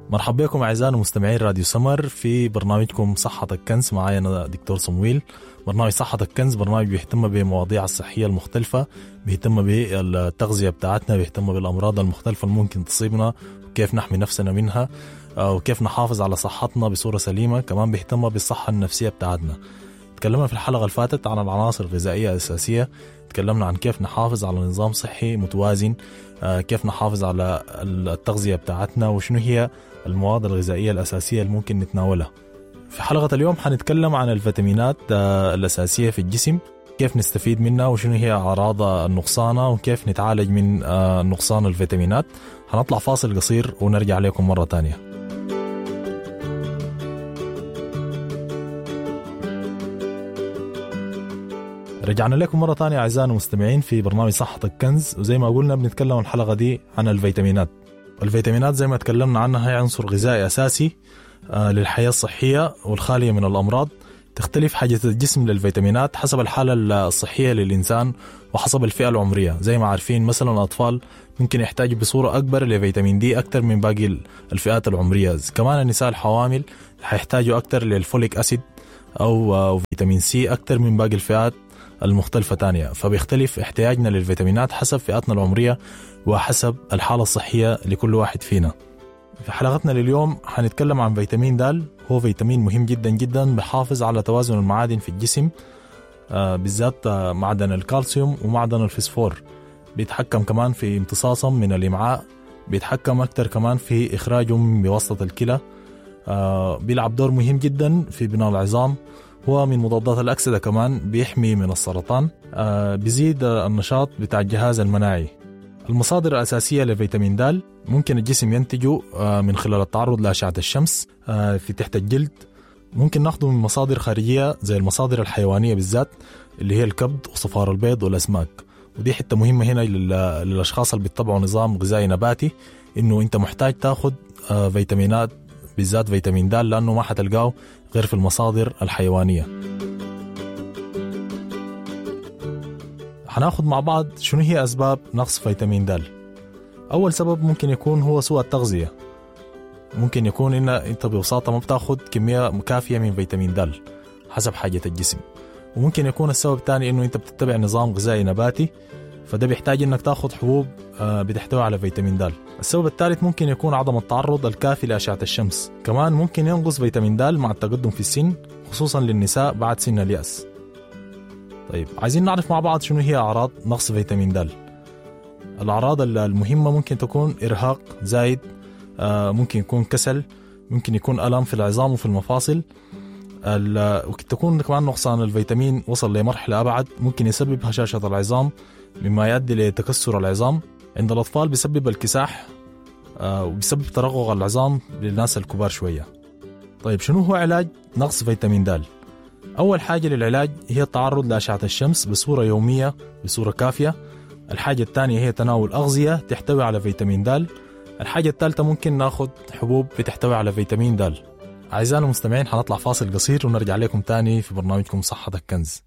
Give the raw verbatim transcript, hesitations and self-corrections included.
مرحبا بكم أعزائنا مستمعين راديو سمر في برنامجكم صحتك كنز. معايا أنا دكتور صمويل. برنامج صحتك كنز برنامج بيهتم بمواضيع الصحية المختلفة، بيهتم بالتغذية بتاعتنا، بيهتم بالأمراض المختلفة اللي ممكن تصيبنا وكيف نحمي نفسنا منها وكيف نحافظ على صحتنا بصورة سليمة. كمان بيهتم بالصحة النفسية بتاعتنا. تكلمنا في الحلقة اللي فاتت عن العناصر الغذائية الأساسية، تكلمنا عن كيف نحافظ على نظام صحي متوازن، كيف نحافظ على التغذية بتاعتنا وشنو هي المواد الغذائية الأساسية اللي ممكن نتناولها. في حلقة اليوم حنتكلم عن الفيتامينات الأساسية في الجسم، كيف نستفيد منها وشنو هي أعراض النقصانة وكيف نتعالج من نقصان الفيتامينات. هنطلع فاصل قصير ونرجع لكم مرة تانية. رجعنا لكم مرة تانية أعزائنا المستمعين في برنامج صحتك كنز، وزي ما قلنا بنتكلم الحلقة دي عن الفيتامينات. الفيتامينات زي ما تكلمنا عنها هي عنصر غذائي أساسي للحياة الصحية والخالية من الأمراض. تختلف حاجة الجسم للفيتامينات حسب الحالة الصحية للإنسان وحسب الفئة العمرية. زي ما عارفين مثلا الأطفال ممكن يحتاجوا بصورة أكبر لفيتامين دي أكثر من باقي الفئات العمرية. كمان النساء الحوامل حيحتاجوا أكثر لل folic acid أو فيتامين سي أكثر من باقي الفئات المختلفة تانية. فبيختلف احتياجنا للفيتامينات حسب فئاتنا العمرية وحسب الحالة الصحية لكل واحد فينا. في حلقتنا لليوم حنتكلم عن فيتامين د. هو فيتامين مهم جدا جدا، بحافظ على توازن المعادن في الجسم، بالذات معدن الكالسيوم ومعدن الفسفور. بيتحكم كمان في امتصاصهم من الإمعاء، بيتحكم أكتر كمان في إخراجهم بواسطة الكلى. بيلعب دور مهم جدا في بناء العظام، هو من مضادات الأكسدة، كمان بيحمي من السرطان، بيزيد النشاط بتاع الجهاز المناعي. المصادر الأساسية لفيتامين د ممكن الجسم ينتجه من خلال التعرض لأشعة الشمس في تحت الجلد. ممكن ناخده من مصادر خارجية زي المصادر الحيوانية بالذات اللي هي الكبد وصفار البيض والأسماك. ودي حتة مهمة هنا للأشخاص اللي بيتبعوا نظام غذائي نباتي، إنه أنت محتاج تاخد فيتامينات بالذات فيتامين د لأنه ما حتلقاه غير في المصادر الحيوانية. هناخد مع بعض شنو هي أسباب نقص فيتامين د. أول سبب ممكن يكون هو سوء التغذية. ممكن يكون إن أنت ببساطة ما بتاخد كمية كافية من فيتامين د حسب حاجة الجسم. وممكن يكون السبب الثاني إنه أنت بتتبع نظام غذائي نباتي، فده بيحتاج إنك تاخد حبوب بتحتوي على فيتامين د. السبب الثالث ممكن يكون عدم التعرض الكافي لأشعة الشمس. كمان ممكن ينقص فيتامين د مع التقدم في السن، خصوصا للنساء بعد سن اليأس. طيب عايزين نعرف مع بعض شنو هي أعراض نقص فيتامين د. الأعراض المهمة ممكن تكون إرهاق زايد، ممكن يكون كسل، ممكن يكون ألم في العظام وفي المفاصل، وتكون كمان نقصان الفيتامين وصل لمرحلة أبعد ممكن يسبب هشاشة العظام مما يؤدي لتكسر العظام. عند الأطفال بيسبب الكساح وبيسبب ترقق العظام للناس الكبار شوية. طيب شنو هو علاج نقص فيتامين د؟ أول حاجة للعلاج هي التعرض لأشعة الشمس بصورة يومية بصورة كافية. الحاجة الثانية هي تناول أغذية تحتوي على فيتامين د. الحاجة الثالثة ممكن ناخد حبوب بتحتوي على فيتامين د. أعزائنا المستمعين حنطلع فاصل قصير ونرجع لكم تاني في برنامجكم صحتك كنز.